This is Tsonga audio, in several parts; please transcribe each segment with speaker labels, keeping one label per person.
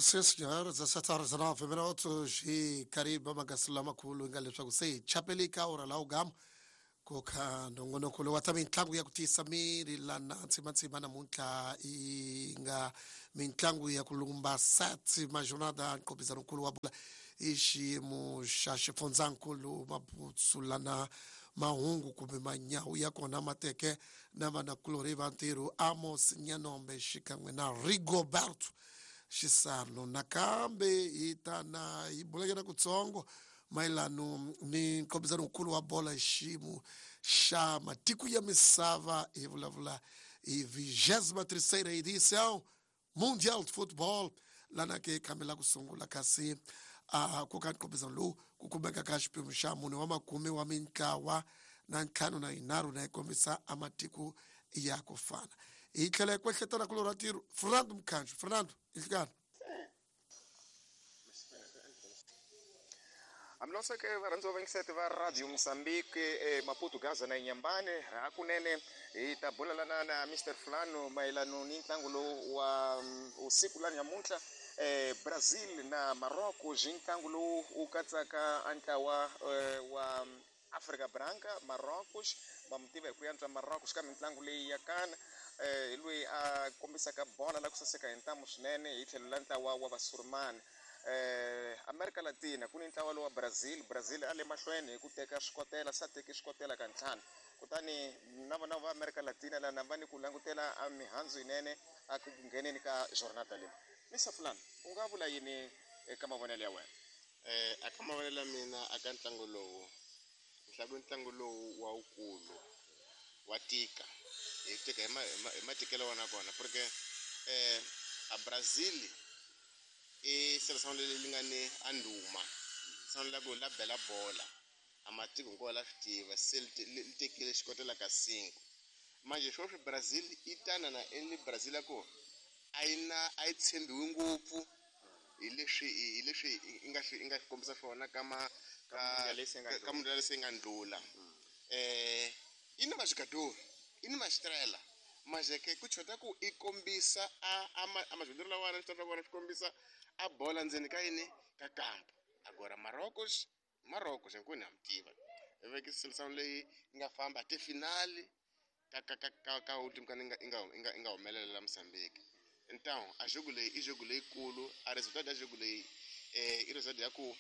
Speaker 1: Sim senhora, 17 horas e 9 minutos e Caribe magasilamakhulu nga leswaku se hi chapelika ora la ugama ku kha nongonoko lowu wa ta mitlangu ya ku tiyisa miri lana ntsimantsima namuntlha yi nga mitlangu ya ku lumba sat majornada nqopizanonkulu wa bola i xiyimo xa xifundzankulu mabutsu lana mahungu kumbe manyawu ya kona ma teke na vanakulorhi va ntirho Amos Nyanombe xikan'we na Rigoberto Xisano. Nakambe hi ta na hi bulanyana kutsongo mayelano ni nkombisano wukulu wa bola hi xiyimo xa matiko ya misava hi vulavula hi vigésima terceira edição Mundial de Football lana ke khambe la ku sungula kasi a ku ka nqophisano lowu ku kumeka ka xiphemu xa mune wa makume wa mintlawa na ntlhanu na yinharhu na yi kombisa a matiko ya ku fana hi tlhela hi kwehletana ku lorha ntirho Fernando Mkhanjo Fernando inhlikani.
Speaker 2: Hambiloseke varhandziwa vayingiseti va Radio Mozambique e Maputo Gaza na Inyambane hakunene hi ta bulalana na Mr Fulano mayelano ni ntlangu lowu wa usiku la nyamuntlha eh, Brazil na Morocco byi ntlangu lowu wu katsaka a ntlawa wa Afrika Branca Marrocos va mu tiva hi ku yantswa Marrocos ka mitlangu leyi ya kana hi loyi a kombisaka bola la ku saseka hi ntamu swinene hi tlhelo la ntlawa wa Vasurumani. Amerika Latina ku ni ntlawa lowa Brazil, Brazil a le mahlweni hi ku teka swikotela se a teke swikotela ka ntlhanu kutani na vona va Amerika Latina lana va ni ku langutela a mihandzu yinene a ku ngheneni ka jornada leyi. Mister Fulani u nga vula yini eka mavonelo ya wena?
Speaker 3: Aka mavonelo ya mina aka ntlangu lowu ni hlaya ku ntlangu lowu wa wukulu wa tika hi tika hi hi matikelo wa kona porque a Brazil i seleção leyi nga ni a ndhuma seleção la ku la bela bola a matiko hinkwawo la swi tiva se li tekile xikotela ka cinco manje sweswi Brazil yi tana na i Brazil ya ku a yi na a yi tshembiwi ngopfu hi leswi hi leswi i nga swi i nga swi kombisa swona ka ma ka ka mundial se nga ndlula yi na majogador yi ni maxitrela manje ke ku chota ku i kombisa a a ma a majogador lawani swi swa vona swi kombisa a bola ndzeni ka yini ka kampo agora Marocos Marocos hinkwenu ha mi tiva i veke seleção leyi yi nga famba ti-final ka ka ka ka ka ultim ka nga nga nga nga humelela la Mozambique então a jogo leyi i jogo leyikulu a resultado ya jogo leyi i result ya ku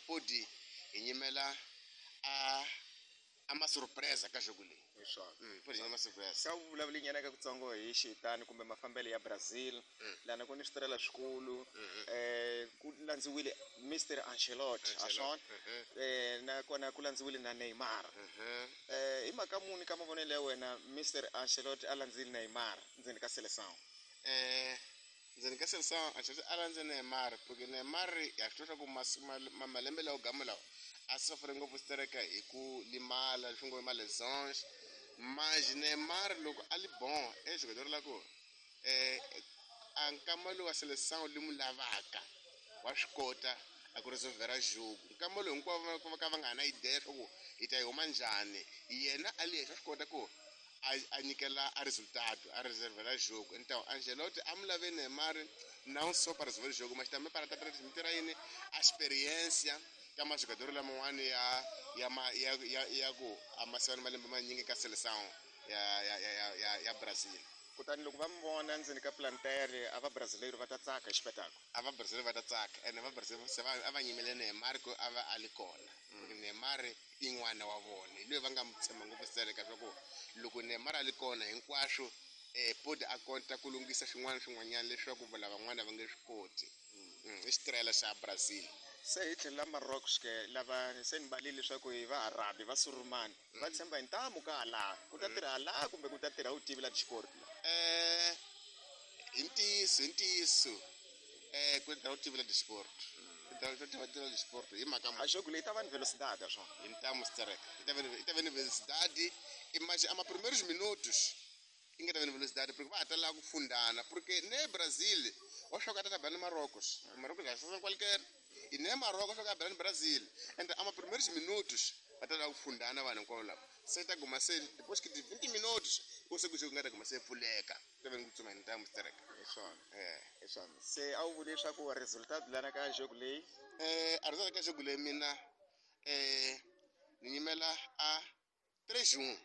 Speaker 3: podi hi nyimela a a ma surpresa ka jogo leyi
Speaker 2: Hi swona.
Speaker 3: Podi hi ma surpresa.
Speaker 2: Ka vulavuli nyana ka kutsongo hi xitani kumbe mafambelo ya Brazil lana ku ni switirela swikulu ku landziwile Mr Ancelotti a swona nakona ku landziwile na Neymar hi mhaka muni ka mavonelo ya wena Mr Ancelotti a landzile Neymar ndzeni ka seleção?
Speaker 3: Ndzeni ka seleção Ancelotti a landze Neymar porque Neymar ha swi tiva swa ku malembe lawa gama lawa a suffer ngopfu stereka hi ku limala leswi ngo ma lesões mas Neymar loko a li bon e jogador la ku a nkama lowu wa seleção li mu lavaka wa swi kota a ku resolvera jogo nkama lowu hinkwavo va ka va nga ha na idea swa ku hi ta yi huma njhani yena a li yexe wa swi kota ku a nyikela a resultado a resolvera jogo então Ancelotti a mu lave Neymar não só para resolver o jogo mas também para transmitir a yini a experiência ka majogador laman'wani ya ya ma ya ya ya ku a ma siva ni malembe manyingi ka seleção ya ya ya ya ya Brazil.
Speaker 2: Kutani loko va mi vona ndzeni ka plantere a va Brasileiro va ta tsaka hi xipetako.
Speaker 3: A va Brazil va ta tsaka ene va Brazil se va a va nyimele Neymar ku a va a li kona porque Neymar i n'wana wa vona hi loyi va nga mu tshemba ngopfu stereka swa ku loko Neymar a li kona hinkwaswo podi a kota ku lunghisa swin'wana swin'wanyana leswaku lavan'wana va nge swi koti i xitirela xa Brazil.
Speaker 2: Se hi tlhelo la Marocos ke lava se ni balile leswaku hi va Arabi va Surumani va tshemba hi ntamu ka hala ku ta tirha hala kumbe ku ta tirha utivi la xiport la
Speaker 3: Hi ntiyiso hi ntiyiso ku ta utivi la disport ku ta tiva disport hi mhaka
Speaker 2: a jogo leyi ta va ni velocidade swona
Speaker 3: hi ntamu stereka i ta va ni velocidade imagine ama primeiros minutos i nga ta va ni velocidade porque va ha ta lava ku fundana porque ne Brazil wa swi ta ta ba ni Marocos Marocos a sasa qualquer e ne Marocos swa ka ba ni Brazil and ama primeiros minutos va ta lava ku fundana vanhu hinkwavo lava. Se ta guma se depois que de 20 minutos o se ku nga ta guma se pfuleka ta ve ngitsuma hi ntamu sterek.
Speaker 2: Hi swona. Hi swona. Se a wu vuli leswaku resultat lana ka jogo leyi?
Speaker 3: A result ka jogo leyi mina ni nyimela a 3-1.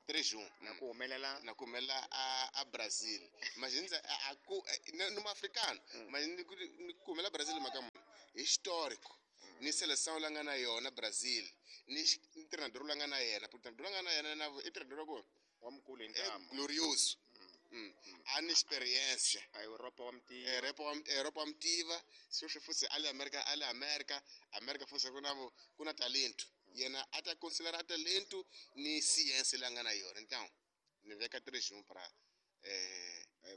Speaker 3: 3-1.
Speaker 2: Na ku humelela?
Speaker 3: Na ku humelela a Brazil. Imagine a ku ni muafrikano. Imagine ni ku humelela Brazil mhaka muni? Histórico. Ni seleção la nga na yona Brazil. Ni treinador la nga na yena. Treinador la nga na yena na i treinador ku
Speaker 2: wa mukulu hi ntamu.
Speaker 3: Glorioso. A ni experiência.
Speaker 2: A Europa wa mtiva.
Speaker 3: Europa wa mtiva. Sweswi futhi a le America, a le America, America futhi ku na ku na talento. Yena a ta considerar talento ni ciência la nga na yona. Então, ni veka 3-1 para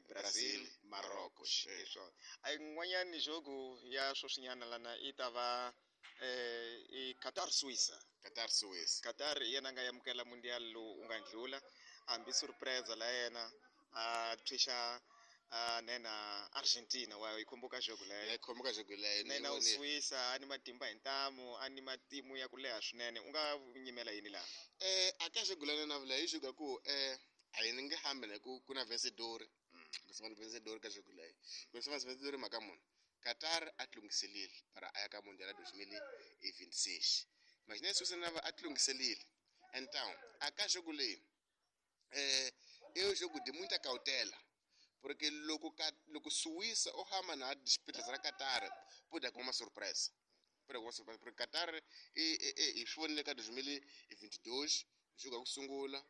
Speaker 2: Brazil, Marrocos. Hi swona. A yin'wanyani jogo ya sweswinyana lana i ta va i Qatar Suisse.
Speaker 3: Qatar Suisse.
Speaker 2: Qatar hi yena a nga amukela mundial lowu u nga ndlula. Hambi surprise la yena a tshwisa nena Argentina wa yi khumbuka jogo leyo.
Speaker 3: Ya khumbuka jogo leyo.
Speaker 2: Nena u Suisse a ni matimba hi ntamu, a ni matimu ya ku leha swinene. U nga nyimela yini laha?
Speaker 3: A ka jogo leyo na vula hi jogo ku a yi nge hambi na ku ku na vencedor. Ku se vencedor ka jogo leyo. Ku se vencedor mhaka muni? Qatar a tlungiselile para a ya ka Mundial 2026. Imagina Suisse na va a tlungiselile. Então, a ka jogo leyi é um jogo de muita cautela. Porque loko Suíça ou hama na disputa za Qatar, pode haver uma surpresa. Pode haver uma surpresa porque Qatar e foi ka 2022, jogo ya ku sungula,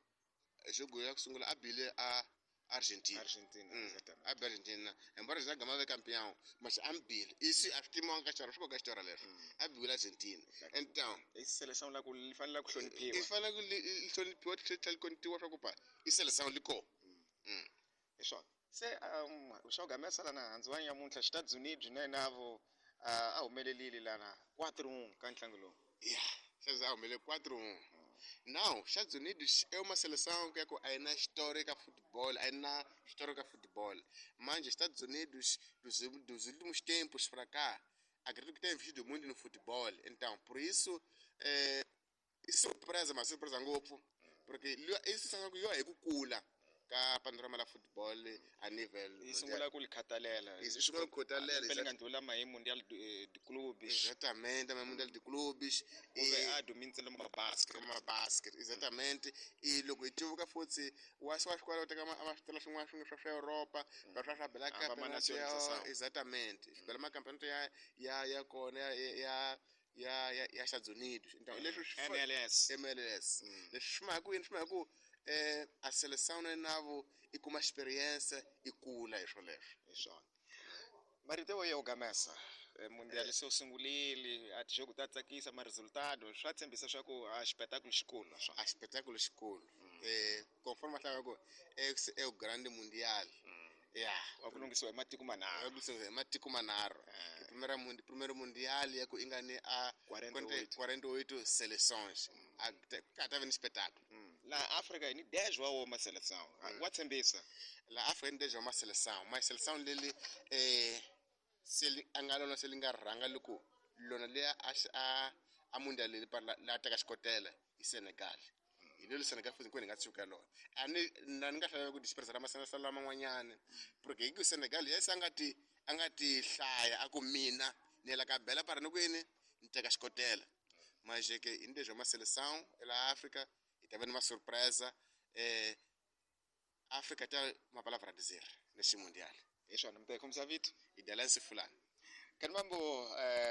Speaker 3: jogo ya ku sungula a bile a Argentina.
Speaker 2: Argentina, exatamente.
Speaker 3: A bile Argentina. Embora já gama campeão, mas a bile. Isso a timão ka xora, swi ka xora leswo. A bile Argentina. Então,
Speaker 2: i seleção la ku li fanele ku hloniphiwa.
Speaker 3: I fanele ku li hloniphiwa tlhela li kontiwa swa ku pa i seleção liko.
Speaker 2: Hi swona. Se xa ku gamesa lana handzu wa nyamuntlha Estados Unidos na navo a humelelile lana 4-1 ka ntlangu lowu.
Speaker 3: Yeah, se a humelele 4-1. Now, Estados Unidos é uma seleção que é na história ka futebol, é na história ka futebol. Manje Estados Unidos dos últimos tempos para cá, acredito que tem investido muito no futebol. Então, por isso surpresa, mas surpresa ngopfu, porque isso sanga ku yo hi ku kula ka panorama la football a nível
Speaker 2: yi sungula ku li khatalela.
Speaker 3: Yi sungula ku khatalela.
Speaker 2: Lembe nga ndlula ma hi Mundial de Clubes.
Speaker 3: Exatamente, ma Mundial de Clubes.
Speaker 2: Kumbe a dominisa ma basket.
Speaker 3: Ma basket, exatamente. E loko hi tivuka futhi wa swa xikolo teka ma switela swin'wana swin'we swa Europa, va swa swa bela campeonato ya exatamente. Xibela ma campeonato ya kona ya Estados Unidos. Então, leswi
Speaker 2: MLS.
Speaker 3: MLS. Leswi swi mhaka ku yini, swi mhaka ku a seleção na navo e com uma experiência e kula hi swoleswo.
Speaker 2: Hi swona. Marito ya ugamesa mundial se u sungulile a tijogo ta tsakisa ma resultado swa tshembisa swa ku a xipetakulo xikulu na swona.
Speaker 3: A xipetakulo xikulu. Conforme a hlaya ku é o grande mundial. Yeah.
Speaker 2: Wa ku lunghisiwa hi matiko manharhu.
Speaker 3: Wa ku lunghisiwa hi matiko manharhu. Primeiro mundial ya ku ingani a 48 seleções. A ka ta va ni espetáculo.
Speaker 2: La Africa ni 10 wa woma seleção. Wa tshembisa.
Speaker 3: La Africa ni 10 wa seleção. Ma seleção leli se a nga lona se li nga rhanga loko lona leya a mundial leli para la teka xikotela i Senegal. Hi lelo Senegal futhi hinkwenu hi nga tshuka lona. A ni na ni nga hlaya ku dispersa ra masenegal laman'wanyana porque hi ku Senegal yesi a nga ti hlaya a ku mina ni yela ka bela para ni ku yini ni teka xikotela. Mas é que ainda é uma seleção la África e também uma surpresa África tem uma palavra a dizer neste mundial.
Speaker 2: Hi swona mi ta hi khomisa vito
Speaker 3: i Delense Fulani.
Speaker 2: Kani mambo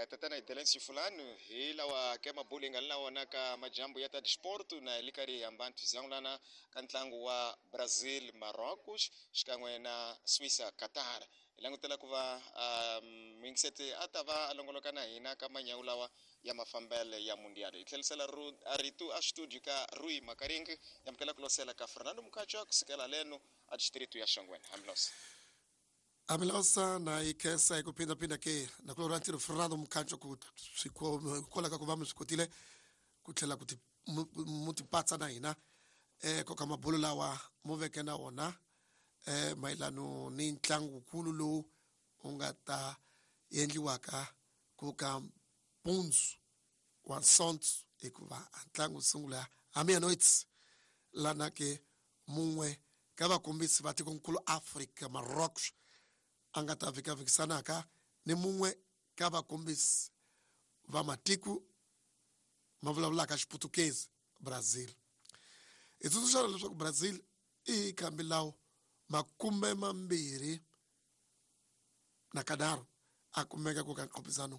Speaker 2: tatana Delense Fulani hi lawa ke mabulu hi nga na wona ka majambu ya ta disporto na li karhi hi hambana tizangulana ka ntlangu wa Brazil Marrocos xikan'we na Suisse Qatar. Hi langutela ku va muyingiseti a ta va a longoloka na hina ka manyawu lawa ya mafambele ya mundial. Hi tlhelisela a rito a studio ka Rui Makaringi yamukela ku losela ka Fernando Mukhacha kusukela leno a distrito ya Shongweni. Hambilosa.
Speaker 1: Amilosa na ikhensa hi ku phindaphinda ke na ku lora ntirho Fernando Mukhacha ku kwala ka ku va mi swi kotile ku tlhela ku mu tipatsa na hina koka mabulu lawa mu veke na wona mayelano ni ntlangukulu lowu u nga ta endliwaka ku ka mpundzu wa Sonto hikuva a ntlangu wu sungula A meia-noite, lana ke mun'we ka vakombisi va tikonkulu Afrika Marrocos a nga ta vhikavikisanaka ni mun'we ka vakombisi va matiko ma vulavulaka Xiputukezi Brazil. Hi tsundzuxana leswaku Brazil i khambi lawo 21 na kanharhu a kumeka ku ka nqophisano.